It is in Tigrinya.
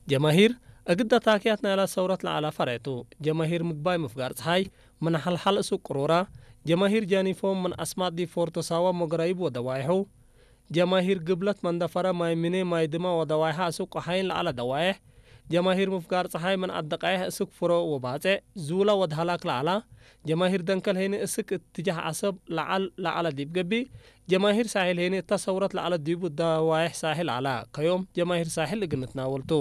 ጀማሂር እግዳ ታክያት ናይላ ሰውረት ለዓላ ፈረቱ። ጀማሂር ምግባይ ምፍጋር ፀሓይ ምን ሓልሓል እሱ ቅሩራ። ጀማሂር ጃኒፎ ምን ኣስማት ዲፎርቶ ሳዋ ሞገራይብ ወደዋይሑ። ጀማሂር ግብለት መንደፈረ ማይ ሚኔ ማይ ድማ ወደዋይሓ እሱ ቆሓይን ለዓላ ደዋይሕ። ጀማሂር ምፍጋር ፀሓይ ምን ኣደቃይሕ እሱ ክፍሮ ወባፀዕ። ዙላ ወድሃላክ ለዓላ። ጀማሂር ደንከል ሄኒ እስክ እትጃህ ዓሰብ ለዓል ለዓላ ዲብ ገቢ። ጀማሂር ሳሒል ሄኒ እታ ሰውረት ለዓላ ዲቡ ደዋይሕ ሳሒል ኣላ። ከዮም ጀማሂር ሳሒል እግንትና ወልቱ።